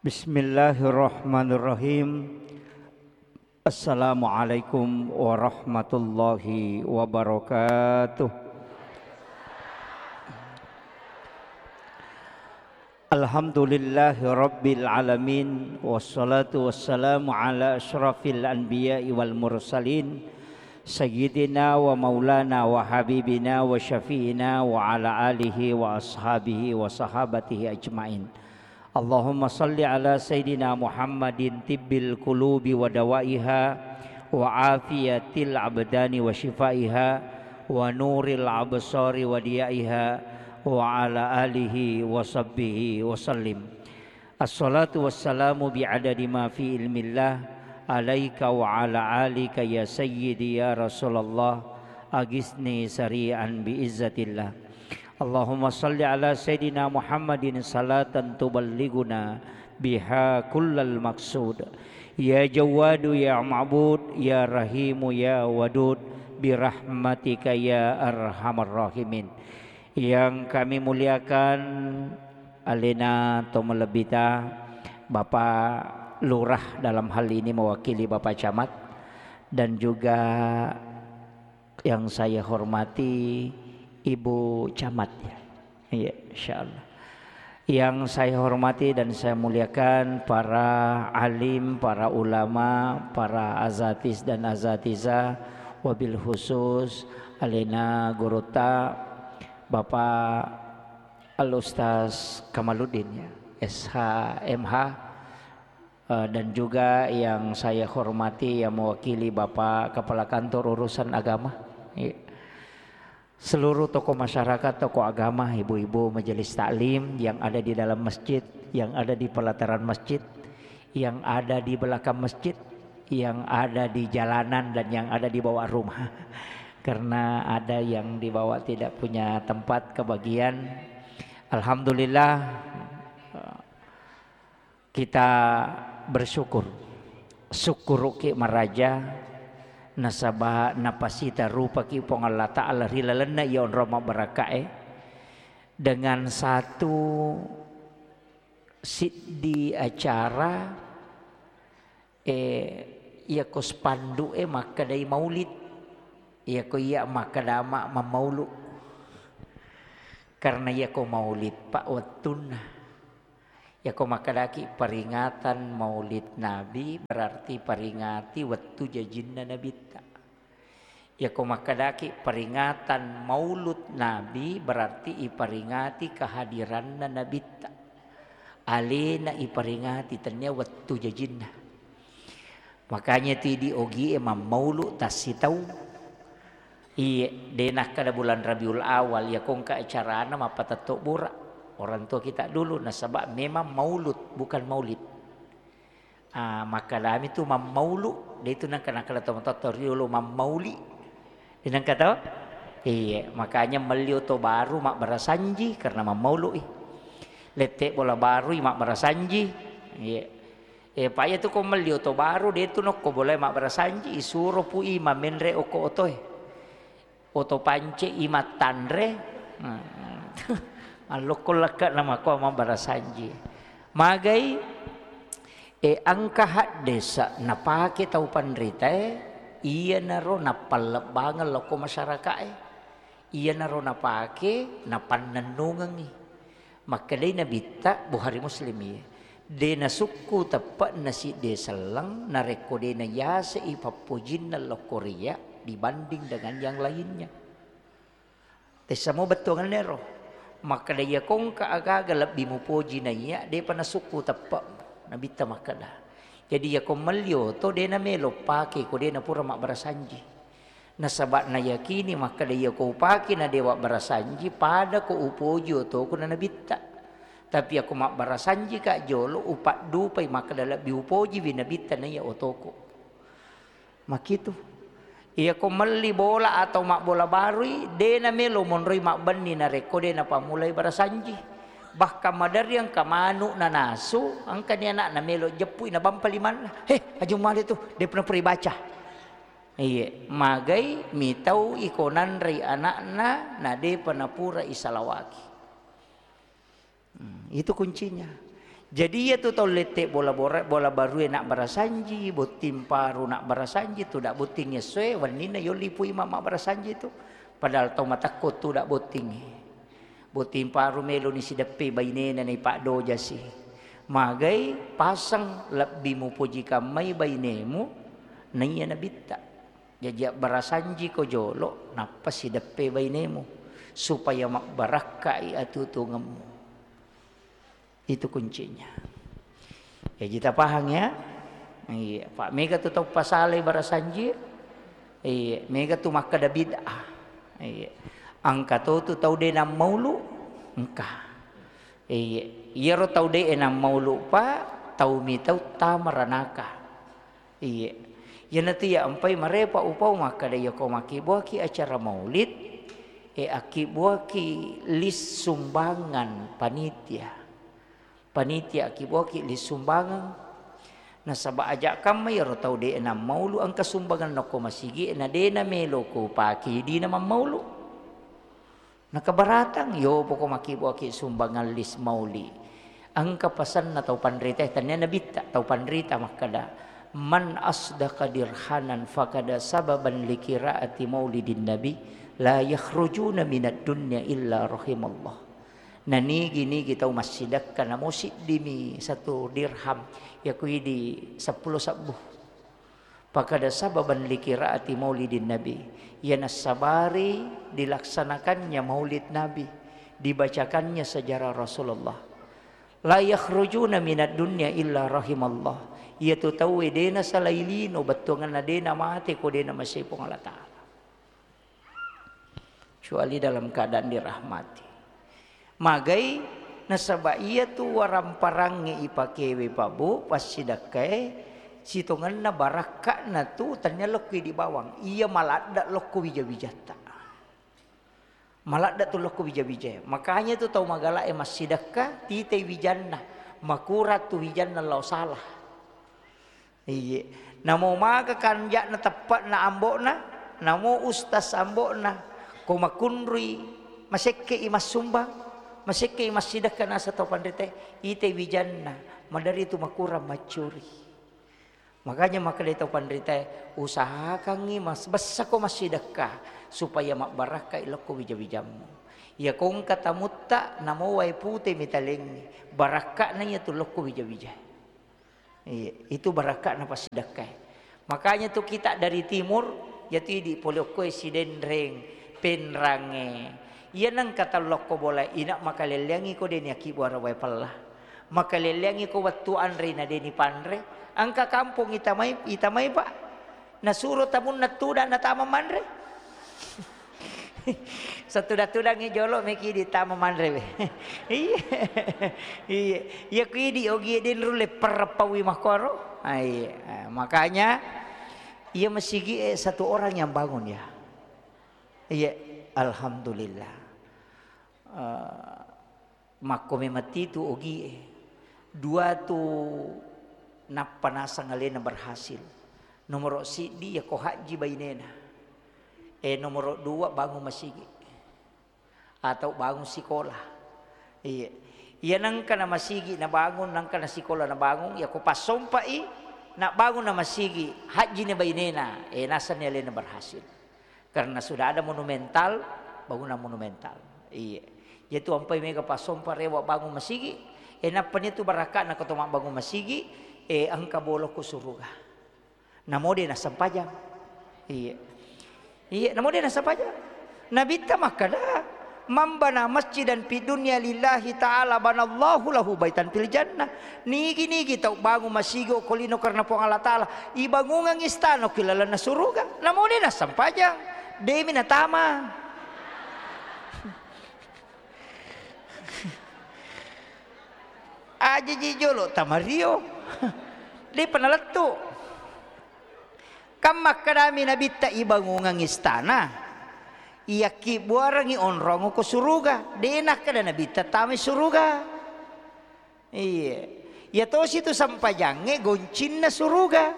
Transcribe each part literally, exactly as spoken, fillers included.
Bismillahirrahmanirrahim. Assalamualaikum warahmatullahi wabarakatuh. Alhamdulillahi rabbil alamin, wassalatu wassalamu ala asyrafil anbiya'i wal mursalin, sayyidina wa maulana wa habibina wa syafi'ina wa ala alihi wa ashabihi wa sahabatihi ajmain. Allahumma salli ala sayyidina Muhammadin tibbil qulubi wa dawaiha wa afiyatil abdani wa shifaiha wa nuril absari wa diyaiha wa ala alihi wa sahbihi wa sallim. Assalatu wassalamu bi'adadi ma fi ilmillah alaika wa ala alika ya sayyidi ya Rasulallah, agisni sari'an bi izzatillah. Allahumma salli ala sayyidina Muhammadin salatan tuballighuna biha kullal maqsud. Ya Jawwadu ya Ma'bud, ya Rahimu ya Wadud, birahmatika ya arhamar rahimin. Yang kami muliakan, alena to malebbita, Bapak Lurah dalam hal ini mewakili Bapak Camat, dan juga yang saya hormati Ibu Camat, ya. Iya, insyaallah. Yang saya hormati dan saya muliakan para alim, para ulama, para azatis dan azatizah, wabil khusus alena gurutta Bapak Al Ustaz Kamaluddin, ya, S H, M H, eh, dan juga yang saya hormati yang mewakili Bapak Kepala Kantor Urusan Agama. Iya. Seluruh tokoh masyarakat, tokoh agama, ibu-ibu majelis taklim yang ada di dalam masjid, yang ada di pelataran masjid, yang ada di belakang masjid, yang ada di jalanan, dan yang ada di bawah rumah. Karena ada yang di bawah tidak punya tempat kebagian. Alhamdulillah, kita bersyukur. Sukkuruki maraja, nasaba napasita rupaki Puang Allah Ta'ala ri lalenna iya onrong mabbarakkae dengan satu siddi acara, eh, iyako spanduk e makkedai maulid, iyako iya makkeda ma-, mammaulu. Karena iyako maulid, Pak, wettunna. Iyako makkedaki peringatan Maulid Nabi, berarti peringati wettu jajinna Nabitta. Iyako makkedaki peringatan Maulud Nabi, berarti iperingati kehadiranna Nabitta. Alena iperingati, tennia wettu jajinna. Makanya tu idi ogie mammaulu tassitaung. Iye, de nakkeda bulan Rabiul Awal, iyako engka acarana mappatetto bura orang tua kita dulu, nasaba memang maulud, bukan maulid. Ah, makkedami tu mammaulu, de tu nengka nakkeda tomatoatta riolo mammauli. De nengka to? Iye, makanya melli oto baru mabbarasanji karena mammaului. Lette bola barui mabbarasanji. Iye. Eh, pa iya tu ko melli oto baru, de tu nokko bolae mabbarasanji, isuro pui mamenre okko otoe. Oto pance i mattanre. Allokko lekka namakko mabbarasanji. Magai, eh, engka haddesa napake tau panritae, iyanaro nappallebbangeng lokko masyarakae. Iyanaro napake napannennungengngi. Makkedai Nabitta, Bukhari Muslim iye, de nasukku teppe'na sidde selleng narekko de nayasei pappojinna lokko riya dibanding dengan yang lainnya. Tessamo bettuangenna ero. Makkeda, iyako engka aga-aga lebbi mupoji naiya, depa nasukku teppe. Nabitta makkeda. Jadi, iyako melli oto, de namelo pake ko de napura mabbarasanji. Nasaba nayakini makkeda, iyako upake na de wabbarasanji, pada ko upoji otoku na Nabitta. Tapi iyako mabbarasanjika jolo, upaddupai makkeda lebbi upojiwi Nabitta naiya otoku. Makitu. Iyako melli bola atau mabbola barui, de namelo monroi mabbenni narekko de napammulai barasanji. Bahkan maderri engka manu nanasu, engkani anakna melo jeppui nabampa limanna. "He, Aji Mumale tu, depa napura ibaca." Iye, magai mitau iko nanrei anakna, na depa napura isalawaki. Hmm, itu kuncinya. Jadi iyatu tau lette bola bora-, bola barue nabbarasanji, botting paru nabbarasanji, tudang botting essoe, wenninna yolli pui ma-, mabbarasanji tu. Padahal tau matekko tudang bottingnge. Botting paru meloni sideppe bainena naipaddojasi. Magai paseng lebbi mupoji kammai bainemu, naiya nabitta. Jaji abbarasanjiko jolo, nappa sideppe bainemu, supaya mabbarakkai atutungemmu. Itu kuncinya. Jaji tapahang ya. Iya, Pak, mega tu tau pasalai barasanji. Iya, mega tu makkeda bid'ah. Iya. Engka to tu tau de nammaulu, engka. Iya, iyaro tau de nammaulu, Pak, tau mitau tama ranaka. Iya. Iyanatu iya empai marepa upau makkeda, iya ko makkibbuaki acara maulid, e, akkibbuaki list sumbangan panitia. Panitia akkibbuaki list sumbangan. Nasaba aja kamma iyaro tau de nammaulu engka sumbangan nokko masigi, na de namelo ko pake dina mammaulu. Nakabaratang, yo poko makkibbuaki sumbangan list mauli. Engka pasenna tau panrita, tania nabitta, tau panrita makkeda, "Man asdaqa dirhanan fakada sababan likiraati maulidin nabi, la yakhrujuna minad dunya illa rahimallah." Nanigi-nigi tau massidekka namo siddimi satu dirham, yaku idi seppulo sebbu. Fakada sababan likiraati maulidin nabi, iya nassabari dilaksanakannya maulid nabi, dibacakannya sejarah Rasulullah. La yakhrujuna minad dunya illa rahimallah. Iyatu tauwe de nasalai lino, bettuanganna de namate ko de namasei Puang Allah Ta'ala. Kecuali dalam keadaan dirahmati. Magai nasaba iyatu waramparangnge ipakewe, Pak Bu, passidekkae, sitongenna barakka'na tu tania lokko idi bawang. Iya maladda lokko wija-wijatta. Maladda tu lokko wija-wijae. Makanya tu tau magala'e massidekka, titai wijanna. Makurang tu wijanna lao salah. Iye. Namo maga kanja'na teppe'na ambo'na, namo ustas ambo'na, ko makunrui, masekkei massumbang, masekkei massidekka naseng tau panritae, itai wijanna, maderri tu makurang maccuri. Makanya makkedai tau panritae, usahakangngi mas-, bessako massidekka supaya mabbarakkai lokko wija-wijammu. Iya ko engka tamutta, namo wae pute mitalengngi, barakka'na iyatu lokko wija-wijae. Iya, itu barakka'na passidekkae. Makanya tu kita dari timur, iyatu idi pole okkoe Sidenreng, Penrangnge. Iya nengka tau lokko bola, ina makalelleangi ko deni akkibbuareng wae pella. Makalelleangi ko wettu anre na deni panre. Engka kampong itamai, itamai, Pak. Nasuro tamunna tudang natama manre. Satudang-tudangngi jolo meki ditama manre we. Iya. Iya. Iya ku idi ogie de nulle perreppaui makkoro. Ah, iya. Ah, makanya iya masigi, eh, satu orang yang bangun ya. Iya, alhamdulillah. Eh, Makko memang titu ogie. Dua tu nappa naseng alena berhasil. Nomoro siddi yako hajji bainena. Eh, nomoro dua bangun masigi. Atau bangun sikola. Iya. Iya nengka na masigi nabangun, nengka na sikola nabangun, yako passompai, na bangun na masigi, hajji ne bainena. Eh, nasenni alena berhasil. Karena sudah ada monumental, bangunan monumental. Iya. Jadi tu ampai mega pasompa rewa bangun masigi. Eh, nappa ni tu barakka na koto mabbangun masigi, eh, engka bolokko suruga. Namo de nassempajang. Iya. Iya, namo de nassempajang. Nabitta makkada, "Man bana masjidan fid dunya lillahi ta'ala banallahu lahu baitan fil jannah." Nigi-nigi tau bangun masigi okko lino karena Puang Allah Ta'ala, ibangungang istana okko lalenna suruga. Namo de nassempajang. Demi natama. Aja ji jolo tamario. Depa nalettu. Kan makkadami nabitta ibangungang istana. Iyakkibbuarangngi onrong ko suruga. De nakkada nabitta tamai suruga. Iya. Iya tosi tu sempajangnge goncinna suruga.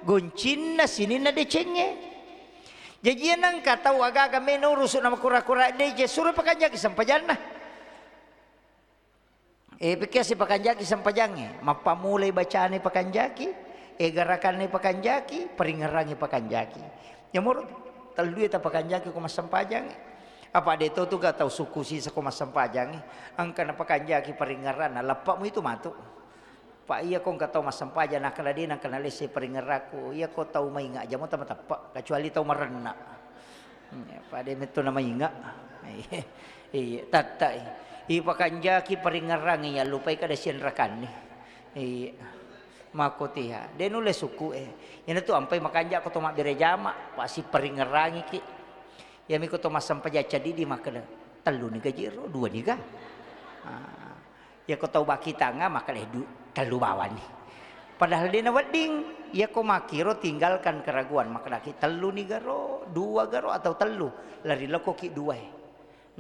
Goncinna sininna decengnge. Jaji iya nengka tau agaga meno urusu nama kura-kura dece, suro pakanjaki sempajanna. Eh, pekkiasi pakanjaki sempajangnge, mappammulai bacane pakanjaki, eh, garakanna pakanjaki, paringngerangngi pakanjaki. Yamoro tellue tapakanjaki ko massempajangnge. Apa de to tu ga tau sukku sisa ko massempajangnge, engka napakanjaki paringngeranna, leppa'mu itu matu. Pa iya ko engka tau massempajang nakkeda de nengka nalesse paringngerakku, iya ko tau mainga jamo tama teppe, kecuali tau marenna. Iya, pada metto na mainga. Iya, iya, tattai. Ipakanjaki paringngerangngi, yallupai kada sianrakanni. Iya. Makkotiha. De nulle sukku e. Iyana tu ampai makanja ko to mabbere jama, pasi paringngerangiki. Iyami ko to massempajang cadidi makkeda, "Tellu ni gaji ro, dua ni ga?" Ah. Iyako tau bakitanga makkeda, "Eh, du-, tellu bawani." Padahal de nawedding, iyako makkiro tinggalkan keraguan, makkedaki, "Tellu ni garo, dua garo atau tellu?" Lari lokoki dua e.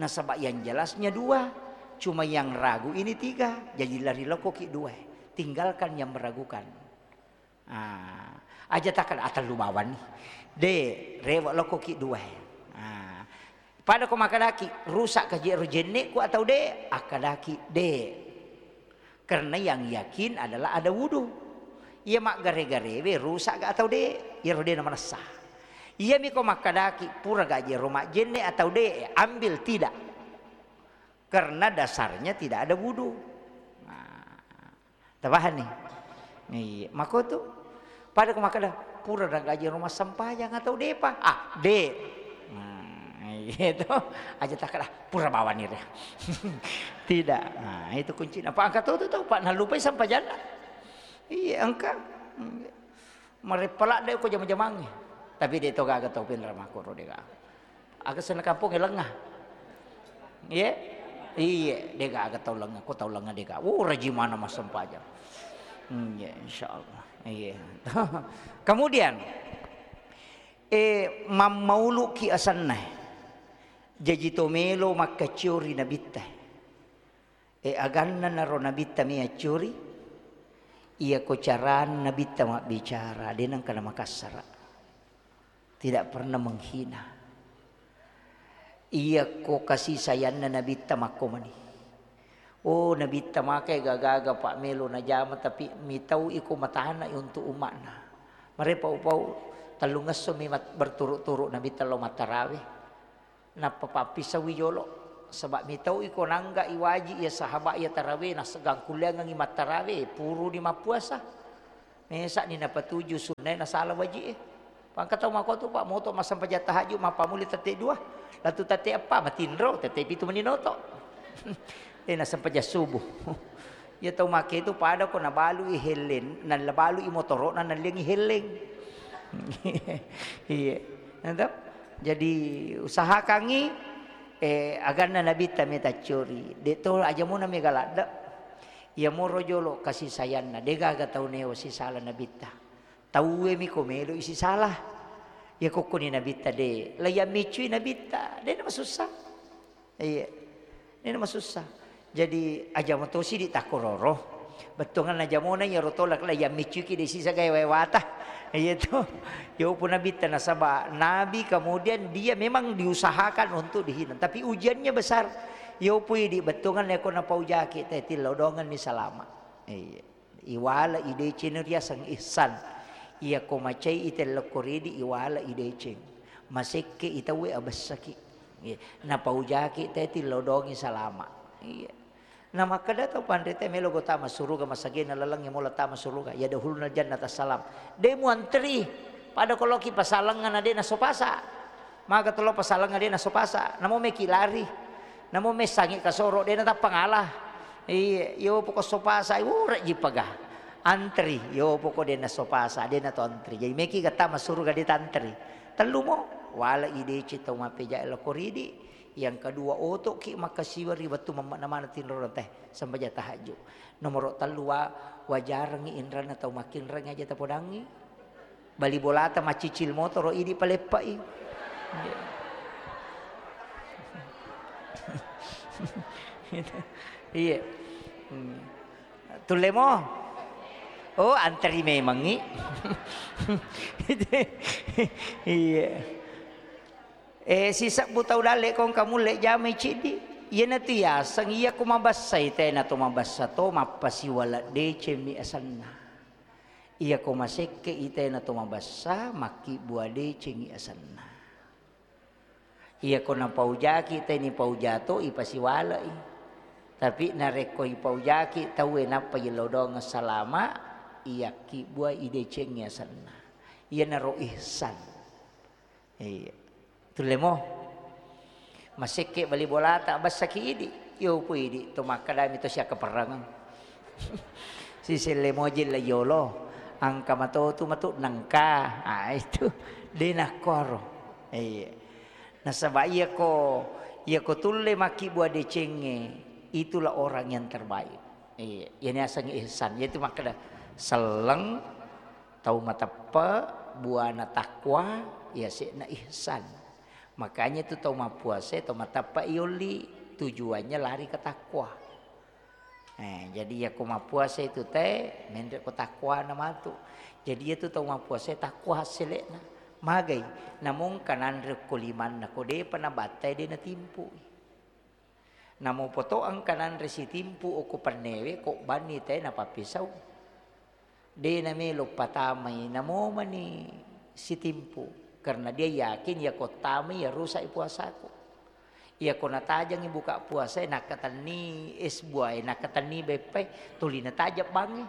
Nasaba yang jelasnya dua, cuma yang ragu ini tiga, jadi lari lokoki dua e. Tinggalkan yang meragukan. Ah, aja takkeda, "Ah, tellu bawani." De, rewe lokoki dua e. Ah, pada ko makkedaki, "Rusak kaji ero jenne'ku atau de?" Akkadaki, "De." Karena yang yakin adalah ada wudu. Iya maggare-garewe rusak ga atau de? Iyaro de namanessa. Iyami ko makkedaki, "Pura gaji ero majjenne atau de?" Ambil tidak. Karena dasarnya tidak ada wudu. Nah, tapahanni? Iya, makotu. Pada ko makkeda, "Pura na gaji rumah sempajang atau depa?" Ah, de. Nah, iya to. Aja takkeda, "Pura bawani re." Tidak. Nah, itu kuncinya. Pak angkat tuh, tuh, tuh, Pak, nalupai sempajanna. Iya, engka. Mareppa ladde ko jama-jamangnge. Tapi de to gaga tau pinra makkoro de gaga. Aga senna kampongnge lenga. Iye? Iye, de gaga tau lenga, ko tau lenga de gaga. Oh, rajimana massempajang. Hmm, ya, insyaallah. Iye. Kemudian, eh, mammauluki asenna. Jaji to melo makkaccio ri nabitta. E, aganna naro nabitta mi accuri, iyako carana nabitta mabbicara, de nengka namakassara. Tidak pernah menghina. Iyako kasih sayangna nabitta makkomani. Oh, nabitta makai gaga-gaga Pak melo najama, tapi mitau iko matana untuk umatna. Mare pau-pau tellungesso mi mat-, berturut-turut nabitta lo mattarawe. Nappa pappisauwi jolo, saba mitau iko nangga iwaji iya sahaba iya tarawe, naseggang kulleangengngi mattarawe, puruni mappuasa. Mesa'ni napatuju sunnae nasala waji'e. Pangka tau makotu, Pak, moto massempajang tahajud, mappammuli tette dua, latu tette eppa, matinro, tette pitu mani noto. Eh, nassempajang subuh. Iya tau make itu pada ko nabalui helleng, nabalui motoro'na, nalliangngi helleng. Iya. Nado? Jadi usahakangngi, eh, aganna nabitta meta curi. De to aja muna mega ladde. Iya moro jolo kasih sayangna. De gaga tau neo sisala nabitta. Tauwe mi ko melo isi salah. Iya kokkoni nabitta de. Laiya miccui nabitta. De na masussa. Iya. Ini masussa. Jadi aja moto sidi takkororo. Bettuangan aja mona iyaro tolak la yang miccuki de sisa gaya wewata. Iya to. Ya upu nabitta nasaba nabi, kemudian dia memang diusahakan untuk dihina. Tapi ujiannya besar. Ya upu idi bettuangan leko napaujaki te tillau dongan ni salama. Iya. Iwala ideceng riaseng ihsan. Iya ko macai ite lokko ridi iwala ideceng. Masekke itawe abessaki. Iya. Napaujaki te tillau dongi salama. Iya. Na makkeda tau panrita melo go tama suruga masagena lalengnge mola tama suruga. Ya dahulna jannata salam. De muantri. Pada koloki pasalengnga na de nasopasa. Maga tolo pasalengnga de nasopasa. Namo meki lari. Namo messangi kasoro de natappa ngala. Iya, yo poko sopasa ure jipaga. Antri, yo poko de nasopasa, de nato antri. Jadi meki gatta masuruga de tantri. Tellu mo, wala ideceng tau mapeja lokko ridi. Yang kedua, otoki makkasiwa ri wettu mammakna maneng tinro teh sempajang tahajud. Nomoro tellu wa-, wajarengngi inranna tau makkinreng aja tapodangngi. Bali bolata maccicil motoro idi paleppai. Iya. Hmm. Tulle mo? Oh, antri memangngi. Iya. Eh, sisebbu tau dalle kong kamulle jamai ciddi. Iyanatu yaseng, iyako mabessai tena to mabessa to, mappasiwala decengmi asenna. Iyako masekke i tena to mabessa, makkibbua decengngi asenna. Iyako napaujaki teni paujato, ipasiwalai. Tapi narekko ipaujaki tauwe nappa yello doang salama, iyakkibbuai decengngi asenna. Iyanaro ihsan. Iya. Tullemo. Masekke bali bolata, bassaki idi. Yo pu idi to makkadami to siakkaperrangeng. Siselle moji la yolo. Angka matotu matu nengka. Ah, itu. De nakkoro. Iya. Nasaba iyako, iyako tulle makkibbua decengnge, itulah orang yang terbaik. Iya, iyani asengnge ihsan. Yaitu makkeda selleng, tau mateppe, buana takwa, yase'na ihsan. Makanya itu tau mappuasa, tau mateppe yolli, tujuannya lari ke takwa. Eh, jadi iyako mappuasa itu te, menre ko takwana matu. Jadi iyatu tau mappuasa takwa hassele'na. Magai, namongka nanre ko limanna, ko depa nabattai de natimpui. Namo poto engka nanre sitimpu okko pennewe, ko banni te napappesau. De namelo patamai, namo mani sitimpu, karena dia yakin iyako tamai ya rusak i puasaku. Iyako natajangi buka puasa, nakkatenni es buah, nakkatenni beppai, tuli natajang bangnge.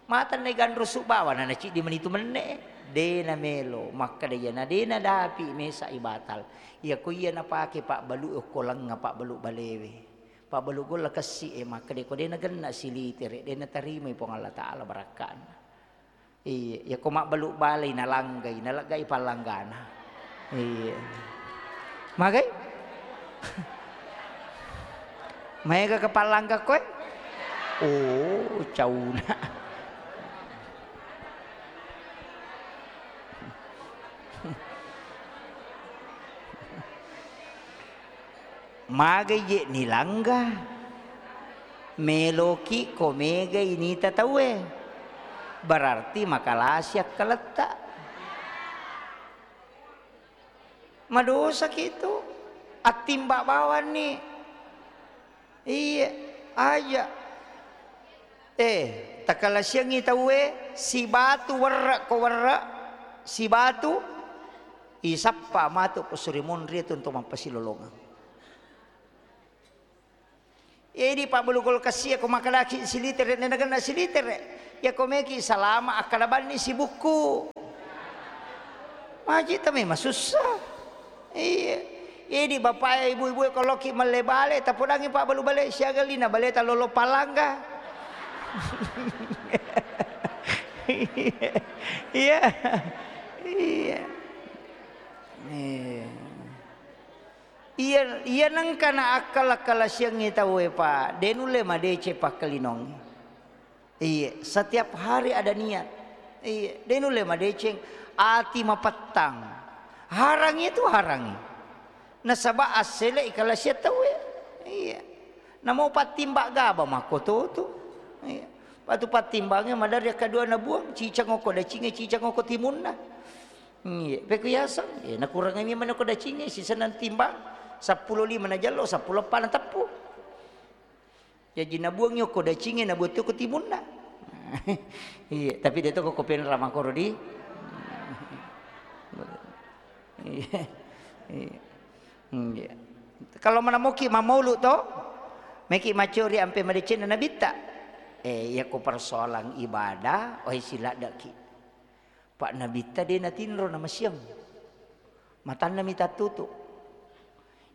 Mata naiganrusu bawang, nanaciddi mani tu menne. De namelo, makkeda iyana de nadapi mesa i batal. Iyako iya napake pabbalu okko lengnga, pabbalu balewe. Pabbalu golla kessi e, makkeda ko de nagenna silitere, de natarimai Puang Allah Taala barakka'na. Iya, iyako mabbalu balai nalanggai, naleggai pallanggana. Iya. Magai? Maega ke pallangga koe? Oh, cauna. Magai je nilangga? Meloki ko megai nita tauwe. Berarti makalasi akkaletta. Madosaki tu, attimba bawanni. Iya, aja. Eh, takalasiangngi tauwe, sibatu werre ko werre, sibatu isappa matu ko suri monri tu untuk mappasilolongeng. Edi pabbalu kulkas iya ko makkedaki silitere, nenagenna silitere. Iya ko meki salama akkada banni sibukku. Maji ta memang susah. Iya. Edi bapak ibu-ibu ko loki melle bale, tapodangi pabbalu bale siaga lina bale ta lolo palangga. Iya. Iya. Iya. Iya, iya nengka na akkala-kalasiangngi tauwe, Pak. De nulle madeceng pakkalinongnge. Iya, setiap hari ada niat. Iya, de nulle madeceng ati mapettang. Harangi itu harangi. Nasaba assele ikalasiang tauwe. Iya. Namo pattimba gaba makkoto tu. Iya. Patu pattimbangnge madari akkadua nabuang, cicang okko dacingnge, cicang okko timunna. Iya, pekko yaseng, iya, nakurangi memang ko dacingnge, sisenna timbang, seppulo lima najallo, seppulo eppa nateppu. Jaji nabuangngi okko dacingnge, nabuang okko timunna. Iya, tapi de to ko penra makoro di. Iya. Iya. Iya. Kalau manamoki mamaulu to, meki macori ampe madecenna nabitta. Eh, iya ko persoalan ibadah, oi siladdaki. Pak Nabitta de natinro namasiang. Matanna mi tattutu.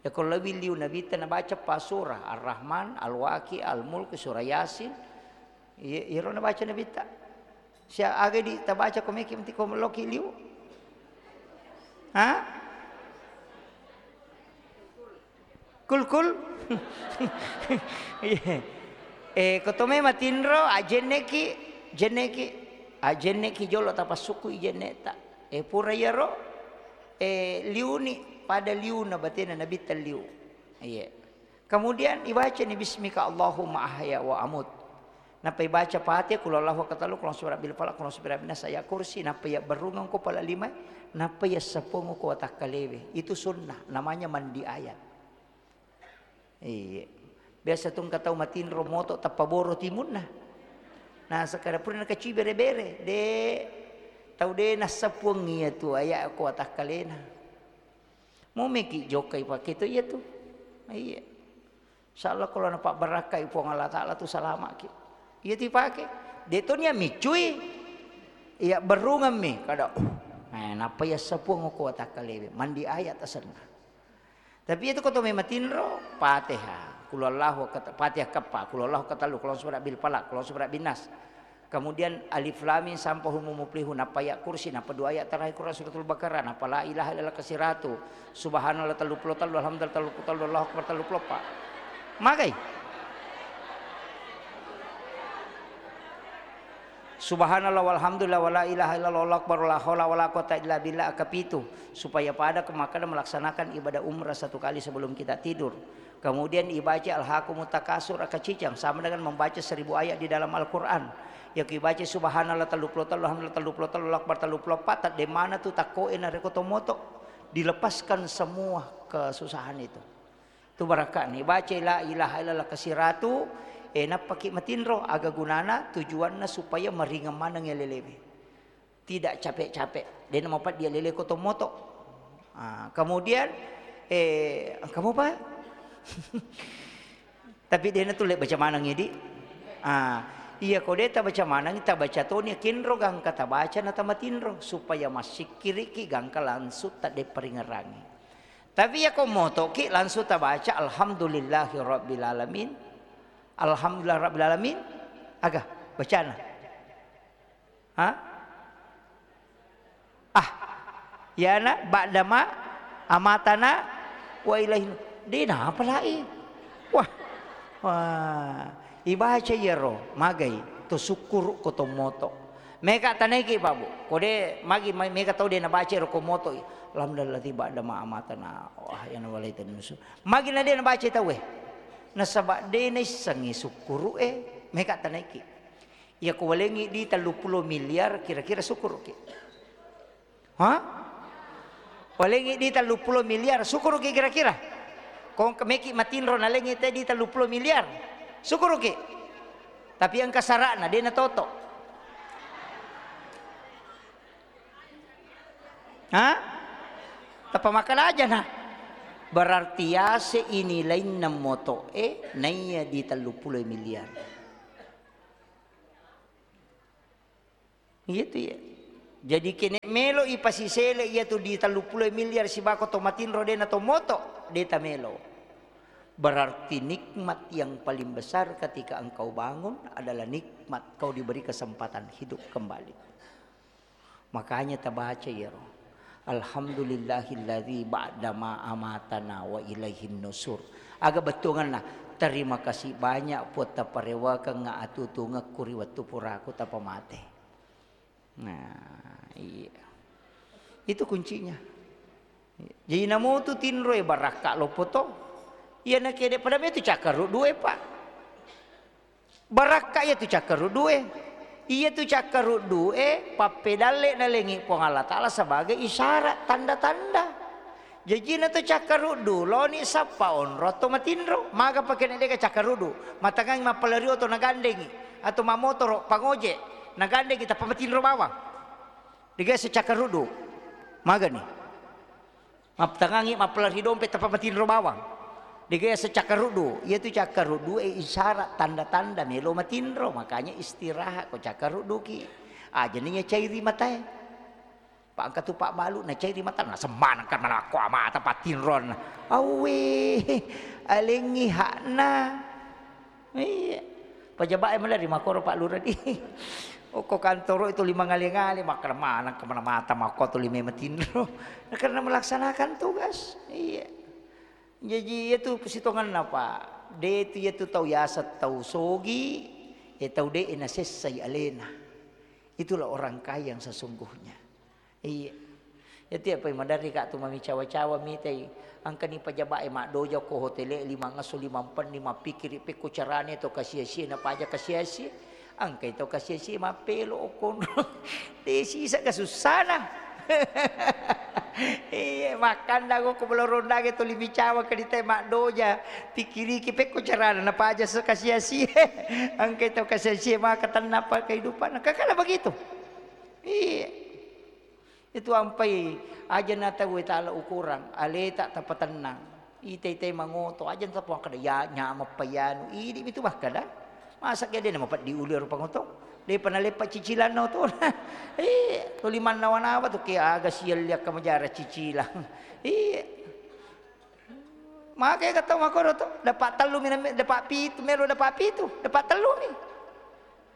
Yako lebbi liu Nabitta nabaca pa surah, Ar-Rahman, Al-Waqi, Al-Mulk, surah Yasin. Iya, iyaro nabaca Nabitta. Sia aga di tabaca ko meki menti ko meloki liu. Ha? Kul, kul. Iya. Eh, ko to mema tinro, ajenneki, jenneki, ajenneki jolo tapassukku ijenneta. Eh, pura iyaro, eh, liuni pada liuna batena Nabitta liu. Iya. Kemudian ibacani bismika Allahumma ahya wa amut. Nappa ibaca Fatihah, Qul huwallahu ahad, Qul a'udzu birabbil falaq, Qul a'udzu birabbin nas, Ayat Kursi, nappa iya berrungeng ko pala lima, nappa iya seppuang ko watakkalewe. Itu sunnah, namanya mandi ayat. Iya. Biasa tu engka tau matinro moto tappa boro timunna. Nah, sekarang pura nakaci bere-bere, de tau de nassapuang iya tu aya ko watakkalena. Mau meki jokkai pake tu iya tu. Iya. Insyaallah kalau napabbarakkai Puang Allah Taala tu salamaki. Iya tu ipake. De to nia micui. Iya berungammi kada. Eh, napa iya sapuang ko watakkalewe. Mandi ayat asenna. Tapi itu ko to mematinro, Fatihah, Qul huwallahu kat-, Fatihah keppa, Qul huwallahu katellu, Qul a'udzu birabbil falaq, Qul a'udzu birabbin nas. Kemudian Alif Lam Mim sampai Humul Muflihun, nappa ayat kursi, nappa dua ayat terakhir Quran suratul Baqarah, nappa la ilaha illallah kasiratu, subhanallah tellu puluh tellu, alhamdulillah tellu puluh tellu, Allahu akbar tellu puluh empat. Magai? Subhanallah walhamdulillah wala ilaha illallah wallahu akbar wala haula wala quwata illa billah akapitu, supaya pada ke Makkah dan melaksanakan ibadah umrah satu kali sebelum kita tidur. Kemudian ibaca Alhaakumut Takasur akacicang sama dengan membaca seribu ayat di dalam Al-Quran. Yang ibaca subhanallah tellu puluh tellu, alhamdulillah tellu puluh tellu, Allahu akbar tellu puluh empat, tak demana tu takkoe na reko tomoto. Dilepaskan semua kesusahan itu. Tu barakka ni, baca la ilaha illallah kasiratu, eh, nappaki matinro, aga gunana, tujuanna supaya maringeng maneng alelewe. Tidak capek-capek, dena mapaddi alele ko to moto. Ah, kemudian, eh, kamu apa? Tapi dena tu le baca maneng idi. Ah, iya ko de tabaca maneng, tabaca toni kinro gangka tabaca na tamatinro supaya massikkiriki gangka langsung tadde paringerangi. Tapi iya ko motoki langsung tabaca alhamdulillahi rabbil alamin. Alhamdulillah rabbil alamin. Aga bacana? Ha? Ah, yana ba'dama amatana wa ilaihin. De napa lai? Wah. Wah, ibaca iyaro magai to sukkuru ko to moto. Meka tanaiki Pak Bu. Ko de magi ma-, meka tau de nabaca ro ko moto. Alhamdulillah ba'dama amatana. Wah, yana walai tennusu. Magi na de nabaca tau e. Nasaba de naissengi sukkuru e, meka tanaiki. Iya ko walengi di tellu puluh miliar kira-kira sukuruki. Ha? Walengi di tellu puluh miliar sukuruki kira-kira. Ko engka meki matinro nalengi te di tellu puluh miliar. Sukuruki. Tapi engka sara'na de natoto. Ha? Tappa makkeda aja na. Berarti yase ini lainna moto e naiya di tellu puluh miliar. Iya tu ya. Jadi kene melo ipasisele iya tu di tellu puluh miliar sibako to matinro de na to moto, de ta melo. Berarti nikmat yang paling besar ketika engkau bangun adalah nikmat kau diberi kesempatan hidup kembali. Makanya tabaca iyaro. Alhamdulillahilladzi ba'dama amatana wa ilaihin nusur. Aga bettuanganna, terima kasih banyak Puang taparewakengnga atutungekku ri wettu puraku tapamate. Nah, iya. Itu kuncinya. Jadi namutu tinroe barakka loppo to. Iya nakede pada metu cakkaruddu e, Pak. Barakka iya tu cakkaruddu e. Iya tu cakkaruddu e pappedalle nalengi Puang Allah Taala sebagai isyarat tanda-tanda. Jajina tu cakkaruddu loni sappa onro atau matinro. Maga pake na deka cakkaruddu. Matangangi mappalari oto nagandengi atau mamotoro pangojek nagandengi tappa matinro bawang. Dega se cakkaruddu. Magani. Maptangangi mappalari dompe tappa matinro bawang. Dega yaseng cakkaruddu. Iya tu cakkaruddu e isyarat tanda-tanda melo matinro. Makanya istirahat ko cakkarudduki. Aja ni cairi matae. Pak engka tu Pak balu na cairi mata na semmaneng kan mana ko amata patinron. Awe, alengi hakna. Iya. Pejabat e melari makoro Pak Lurah di. Okko kantoro itu lima ngale-ngale, makkeda maneng kemana mata makko tu lima matinro. Nah, karena melaksanakan tugas. Iya. Jadi iya tu sitonganna, Pak. De tu iya tu tau yaseng tau sogi, e tau de nasessai alena. Itulah orang kaya yang sesungguhnya. Iya. Iya tu apa maderri ka tu mami cawa-cawa mitai. Engkani pejabat e maddoja ko hotel e lima ngesso lima penni mappikiri pekko carane to kasia-sia na paja kasia-sia. Engkai to kasia-sia mappelo okkonro. De sisa ka sussana. Iya, makkanda ko, ko belo rondange tuli micawa ke ditai maddoja. Pikkiriki pekko carana napaja se kasiasi. Engka tau kasiasi maka tennapa kehidupan. Kakala begitu. Iya. Itu ampai aja na tau tala ukurang, aleta tapatennang. Ite-ite mangoto, aja tappa kada ya nyamappa yanu. Idi mitu makkada. Masa ke de na mapeddi ulu ero pangoto. Depa naleppa cicilanna oto. Eh, tuli mannawa-nawa tu ke aga sialli akka majara cicilang. Iya. Maka ega tau makkoro to, dapat tellu mi, dapat pitu, melo dapat pitu, dapat tellu mi.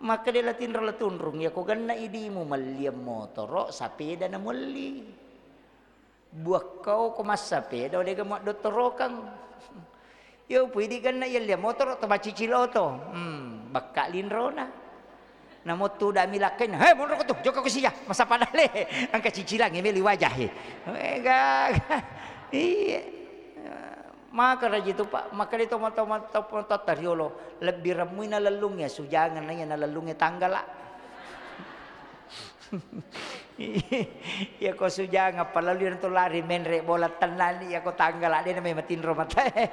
Maka de la tinro la tunrung, ya ko genna idimu melliang motoro, sapeda na melli. Buakkau ko massapeda, dega madottorokang. Yo pui di genna yelliang motoro to macicil oto. Hmm, bakka linrona. Namo tudami lakkainna, "He, monro ko tu, jokka ko sija, masa padale." Engka cicilangnge meli wajahe. Eh, gaga. Iya. Maka raji tu, Pak, maka di tomo-tomo, tomo-tomo riolo, lebbi remmui nalellungnge, sujangan na iya nalellungnge tanggala. Iya ko sujangan, palalui tu lari menre bola tennani, iya ko tanggala, de na mai matinro matae.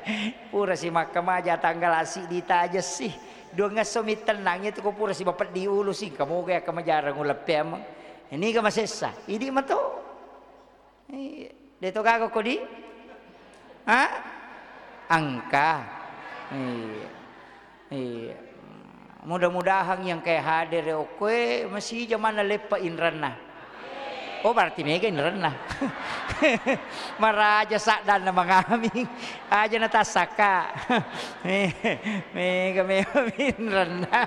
Pura si makkamaja tanggala siddi taja si. Duangngesso mi tennang itu ko pura si mapeddi ulu si, kamoga ya kamajarang uleppe ameng. Ini ga masessa, idi mato. Iya. De to gaga ko di? Ha? Engka. Iya. Iya. Mudah-mudahan yang kayak hadir okkoe masih jaman leppa inranna. Oh, berarti mega inranna. Maraja saddanna mangaming. Aja na tassaka. Mega, mega inranna.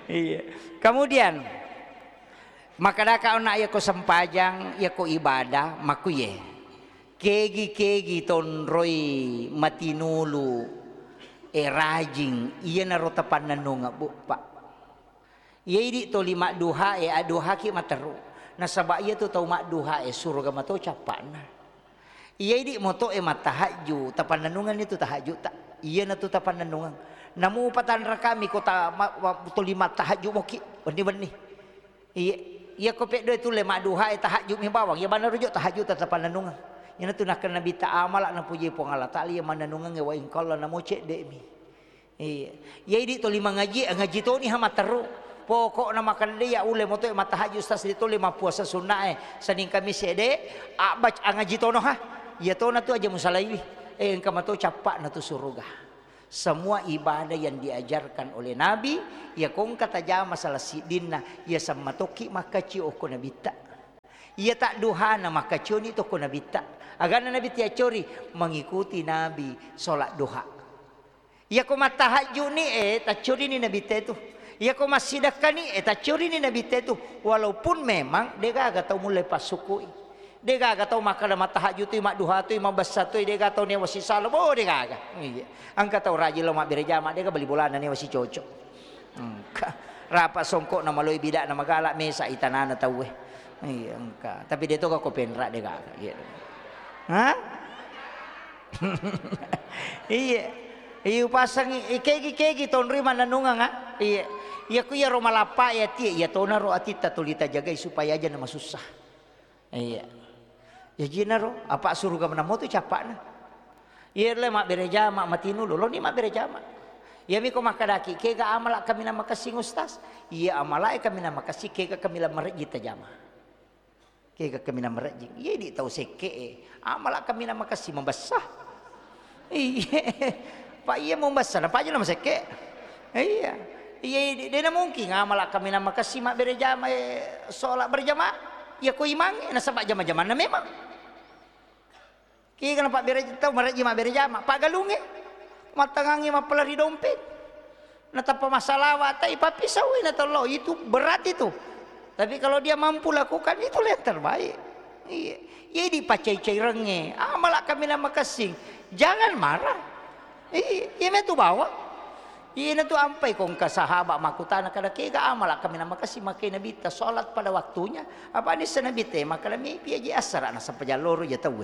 Iya. Kemudian, makkadaka onna, yako sempajang, yako ibadah, makkuye. Kegi-kegi tonroi matinulu, e, rajing, iyanaro tapannennungeng, Bu, Pak. Iya idi toli madduha e, adduhaki materru. Nasaba iya tu tau madduha e, suruga mato cappa'na. Iya idi moto e mattahajju, tapannennungenni tu tahajju ta. Iyana tu tapannennungeng. Namu patanra kami kota ma-, ma-, toli mattahajju moki, wenni-wenni. Iya, iya ko peddo e tulle madduha e tahajju mi bawang, iya banna rujuk tahajju ta tapannennungeng. Iyana tu nakkeda Nabitta amala napuji Puang Allah Taala iya mannennungengnge wa ingkalla namo cedde mi. Iya. Iya idi toli mangaji, ngaji toni ha matteru. Pokokna makkeda de iya ulle moto e mattahajju ustaz de tole mappuasa sunna e. Senin Kamis ede, abbac angaji tono ha. Iya tona tu aja musalaiwi. Eh, engka mato cappa'na tu suruga. Semua ibadah yang diajarkan oleh Nabi, iya ko engka tajama salah siddinna, iya sammatokki makkacio okko Nabitta. Iya tadduhana makkacioni tokko Nabitta. Aganna Nabitta yaccori mengikuti Nabi sholat duha. Iya ko mattahajjuni, eh, taccorini Nabitta itu. Iya ko massidekkani, eh, taccorini Nabitta itu. Walaupun memang degaga tau mulle passukui. Degaga tau makkeda mattahajju tu, madduha tu, mabessa tu, degaga tau newa sisala. Bo, degaga. Iya. Engka tau rajin lo mabbere jama, dega bali bolana newa sicoco. Engka. Rapa songkokna maloi bidakna magala, mesa itanana tauwe. Iya, engka. Tapi de toga ko penra degaga. Iya. Hah? Iya. Iya, upasangi, i-, kegi-kegi tonroi mannennungeng, ah. Iya. Iya, ku iyaro malappa e ati, iya tonaro atitta tuli tajagai supaya aja na masussa. Iya. Jajinaro, apa suruga menamo tu cappa'na. Iya le mabbere jama matinulu, loni mabbere jama. Iya miko makkadaki, kega amala kaminang makessing ustaz? Iya amala e kaminang makessing, kega kaminang marejji tajama. Kega kaminang marejjing. Iya di tau sekke e. Amala kaminang makessing mabessa. Iya. Pak iya mabessa, napa aja na masekke. Iya. Iya, de, de na mungkin amala kaminang makessing mabbere jama, eh, sholat berjamaah. Iya ko imang e, nasaba jama-jamanna memang. Kega napabbere tau marejji mabbere jama, paggalungnge. Mattangangngi mappala ri dompet. Natappa massalawa, tai pappisauwi na tollo, itu berat itu. Tapi kalau dia mampu lakukan, itulah yang terbaik. Iya. Iya dipacai-cairengnge, amala kaminang makessing. Jangan marah. Iya, iya metu bawa. Iyana tu ampai ko engka sahaba makkutana kada kega amala kaminang makessing makkeda Nabitta sholat pada waktunya. Apa nissa Nabitta e makkeda mepi aja assara nasaba jalloro ja tauwe.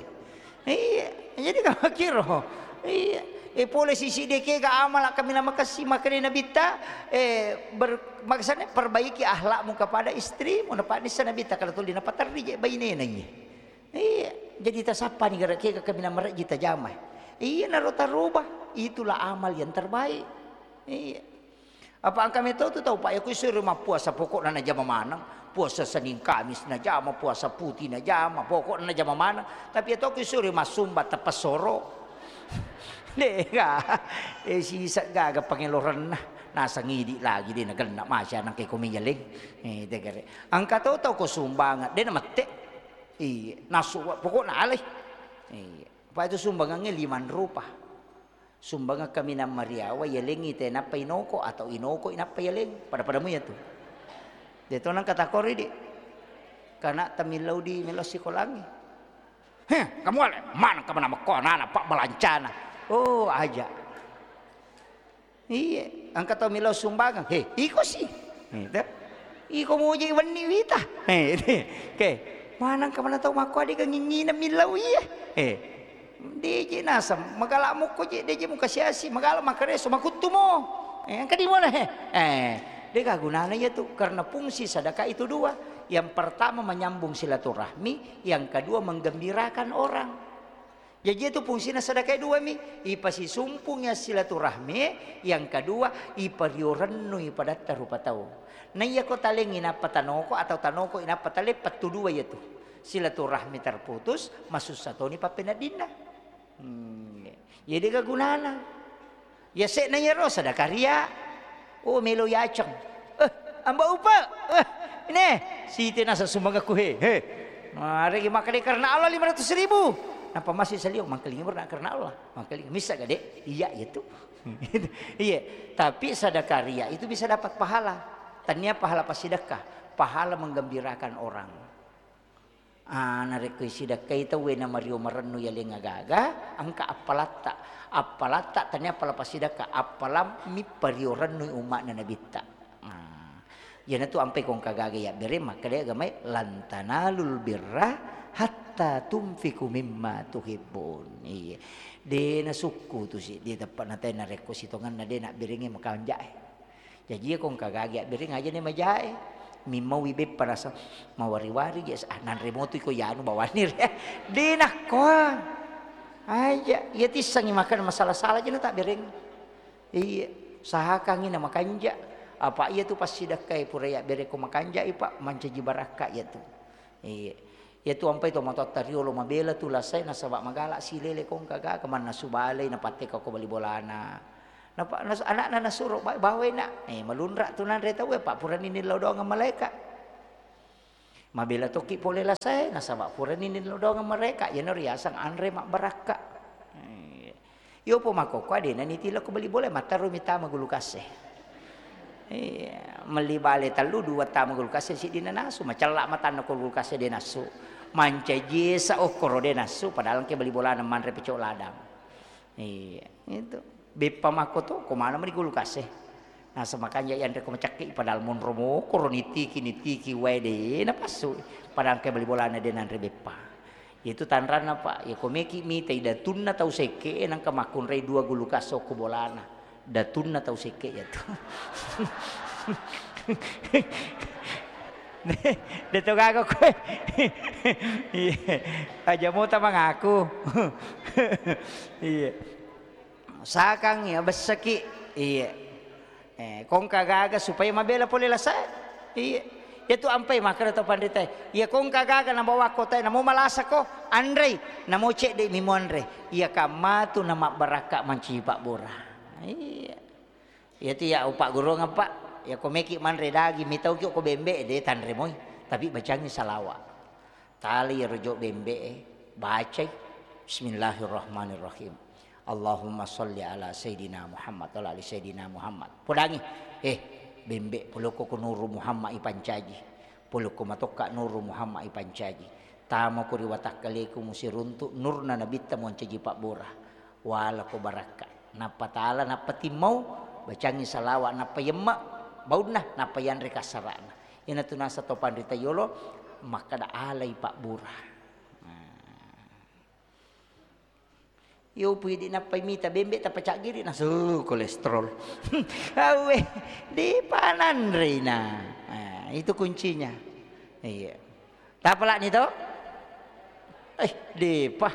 Iya, jadi kamakiro. Iya. E pole sisi de kega amala kaminang makessing makkeda Nabitta, eh, ber-, maksudnya perbaiki akhlakmu kepada istrimu. Napa nissa Nabitta kada tuli napaterri je bainena iye. Iya, jadi tasappani gare' kega kaminang marejji tajama. Iya, naro taroba, itulah amal yang terbaik. Iya. Apa engka meto tu tau, Pak, ya, ku isuri mappuasa, pokokna najama maneng. Puasa Senin Kamis najama, puasa putih najama, pokokna najama maneng. Tapi ya to ku isuri massumba tepesoro. Dega, eh, sisa gaga pangelorenna. Nasang idi lagi de nagenna masya nang ke komi yaleng. Eh, degare. Engka to tau ko sumbangan, de namette. Iya, nasu, pokokna alai. Iya. Apa itu sumbangannya lima rupa. Sumbangeng kaminang mariawa, yalengngi te nappa inoko atau inoko inappa yaleng. Pada-pada mu yatu. De to nang katakori di. Kana tamillau di melo sikolangi. Heh, kamu ale, mana kamu nama ko anak-anak pak balancana. Oh, aja. Iya, engka tau millau sumbangeng. He, iko si. Gitu. Iko muji wenni wita. He, oke. Manang kemana tau makko adega ngingina millau iya. He. Deje naseng, magala mukko je, deje muka siasi, magala makareso, makuttu mo. Eh, engka di mona he. Eh, dega gunana iya tu, karena fungsi sedekah itu dua. Yang pertama menyambung silaturahmi, yang kedua menggembirakan orang. Jaji itu fungsina sedekah dua mi, ipasisumpung ya silaturahmi, yang kedua ipario rennui padatta rupa tau. Na iya ko talengi nappa tanoko atau tanoko inappa taleng, pettu dua iya tu. Silaturahmi terputus, masussa toni pappeneddinna. Hmm, iya. Iya dega gunana. Yase'na iyaro sadaka ria. Oh, melo yaceng. Eh, Amba Upa. Eh, ini. Siti nasa sumbangakku he. He. Maregi makkeda karena Allah lima ratus ribu. Napa masih salio mangkelingi berna karena Allah. Mangkelingi missa gade. Iya, iya tu. Iya. Tapi sadaka ria itu bisa dapat pahala. Tania pahala pasidakka, pahala menggembirakan orang. Ah, narekko isidakkai tauwe namario marennu yaleng agaga, engka appalatta. Appalatta tania appala pasidakka, appalammi pario rennui umma'na nabitta. Ah, iyanatu ampai ko engka gaga yabbere makkeda agamae, "Lan tanalul birra hatta tunfiqu mimma tuhibbun." Iya. De nasukku tu si, de teppa natai narekko sitongenna de nabberengngi makanjae. Jaji iya ko engka gagi abbereng aja ni majae. Mimmaui beppa rasa mawari-wari je, ah, nanre motu iko yanu bawanni re. De nakkoa. Aja, iya tissengi makan masala-sala je na tabbereng. Iya, usahakangi na makanja. Apa iya tu passidakkai pura yabbereng ko makanja i, Pak, mancaji barakka iya tu. Iya. Iyatu ampai tomatoatta riolo mabela tu lasae nasaba magala silele ko engka gaga mannasu balei napatteka ko bali bolana. Napa nas-, anakna nasuro, "Ba-, bawai nak." Eh, malunra tu nanre tauwe, pa purani nillau doang malaeka. Mabela tokki pole lasae nasaba purani nillau doang malaeka, iyana riaseng anre mabbarakka. Eh, Iyopo makkokkoe de' nanitila ko bali bola, matterumi tama gulu kasse. Iya, melli bale tellu, dua tama gulu kasse, siddi nanasu, macella matanna ko gulu kasse de' nassu. Mancaji esa okkoro de' nassu, padahal engke bali bolana manre pecok ladang. Iya, itu. Beppa makko to, ko mana meni gulu kasse. Naseng makanja yanre ko macakki, padahal monro mokoro nitiki, nitiki wae de' napassu. Padahal engke bali bolana de' nanre beppa. Itu tanranna, Pak. Ya, ko meki mitai datunna tau sekke, nangka makkunrai dua gulu kasso ko bolana. Datunna tau sekke ya tu. De to gaga koe. Iya. Aja mota mangaku. Iya. Sakang ya bessaki. Iya. Eh, kongka gaga supaya mabela pole lasae. Iya. Iyatu ampai makkeda to panritae, iya kongka gaga nabawa kotae, namo malasako, anrei, namo cedde' mi muanre. Iya kammatu namabbarakka mancaji pabbura. Iya. Iyatu ya upaggurungeng, Pak. Ya ko meki manre daging, mitauki ko bembe, de tanre moi. Tapi bacangi salawa. Tali iyaro jo bembe'e, bacai, "Bismillahirrahmanirrahim. Allahumma sholli ala Sayyidina Muhammad, wa ala ali Sayyidina Muhammad." Podangi, eh, bembe, polokko ko Nuru Muhammad ipancaji. Polokko matokka Nuru Muhammad ipancaji. Tamako ri watakkaleku musiruntu nurna nabitta moncaji pabbura. Walako barakka. Nappa tala, nappa timmau, bacangi salawa, nappa yemma baunna, nappa yanre kassara'na. Iyanatu naseng to panrita yolo makkeda alai pabbura. Nah. Iyo pui di nappai mita bembe tappa caggiri nasu kolesterol. Awe, di pananrina. Nah, itu kuncinya. Iya. Tapalani to? Eh, depa.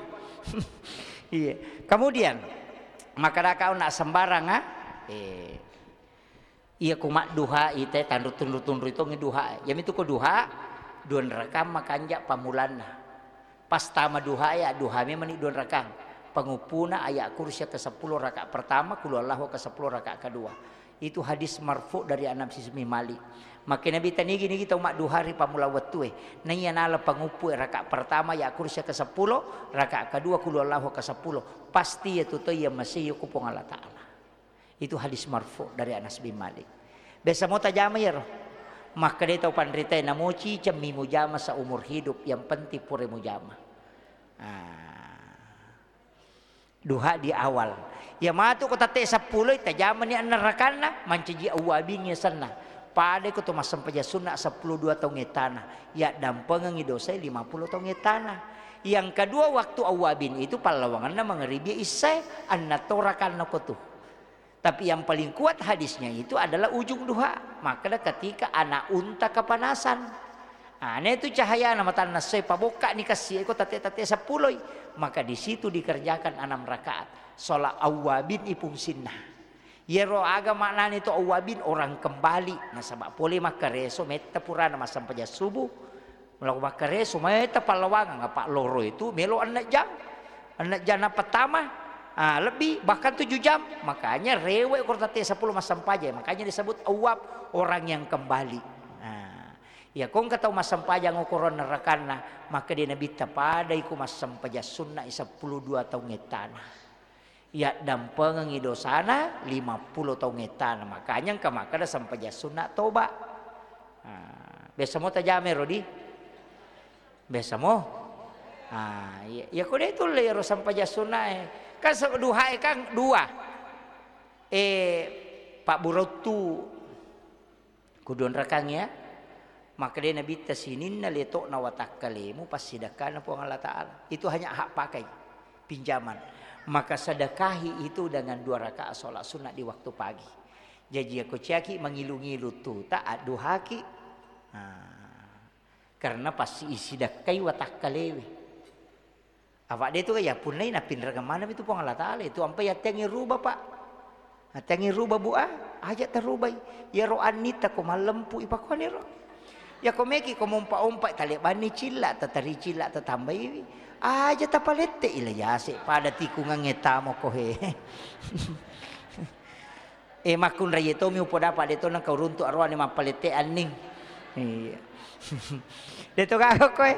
Iya. Kemudian, makkadaka ona sembarang, ah? Eh. Iya ku madduhai te tanru tunru-tunru tongi duha. Yamitu ko duha, dua rakang makanja pamulanna. Pas tama duha ya, duha memang ni dua rakang. Penguppuna ayat kursi ke sepuluh rakaat pertama, kulu Allahu ke sepuluh rakaat kedua. Itu hadis marfu dari Anas bin Malik. Makkeda Nabi, tanigi-nigi tau madduha ri pammula wettue. Naiya nala panguppu rakaat pertama, ya kursi ke sepuluh, rakaat kedua kulu Allahu ke sepuluh. Pasti ya tu to iya masih ku Puang Allah Ta'ala. Itu hadis marfu dari Anas bin Malik. Biasa mo tajama ya roh. Makkeda tau panrita, namoci cemmi mujama seumur hidup, yang penting pura mujama. Ah. Duha di awal. Ya matu ko tatte seppulo, tajamani anna rakanna, mancaji awwabin yasenna. Pada ko to massempajang sunna seppulo dua taung ettana, ya dampengengi dosai lima puluh taung ettana. Yang kedua, waktu awwabin itu pallawanganna mangaribi isya, anna to rakanna ko tu. Tapi yang paling kuat hadisnya itu adalah ujung duha. Makkeda ketika anak unta kepanasan. Nah, itu cahayana matanna sai pabokka ni kassi iko tate-tate seppuloi. Maka di situ dikerjakan enam rakaat. Sholat awwabin ipungsinna. Yero aga maknani to awwabin, orang kembali. Nasaba pole makkareso metta purana massempajang subuh. Melo makkareso metta pallawangang, apa loro itu melo enneng jam. Enneng jam na pertama, ah, lebih, bahkan tujuh jam. Makanya rewe ko tate seppulo massempajang. Makanya disebut awwab, orang yang kembali. Nah, ya ko engka tau massempajang okoronna rakanna, maka dia Nabitta padai ku massempajang sunna seppulo dua taung ettana. Ya dampengengi dosana lima puluh taung ettana. Makanya engka makkeda sempajang sunna toba. Ah, biasa mo tajame rodi? Biasa mo? Ah, iya. Ya ko de tulle ro sempajang sunnae. Kan se-, duhae kan dua. Eh, Pak Burottu. Kudu onrakang ya. Makkeda Nabitta, sininna letokna watakkalemu passidakkana Puang Allah Ta'ala. Itu hanya hak pakai, pinjaman. Maka sedekahi itu dengan dua rakaat sholat sunnah di waktu pagi. Jaji, ako ciaki mangilu-ngilu tu, tak adduhaki. Nah, karena pasti isidakkai watakkalewe. Apa de tu ya punnai napinrengeng maneng itu Puang Allah Ta'ala. Itu ampai attengi ruba, Pak. Attengi ruba, Bu, ah, aja tarubai. Yaro annita ko mallempu ipakuaniro. Ya ko meki ko mompa-ompa talebanni cilla, tatari cilla tatambaiwi. Aja tapalette ila yase pada tikungangnge tamo ko he. Eh, makkunrai tomi upodapa de to nengka uruntu aroane mappalette anning. Iya. De to gaga koe.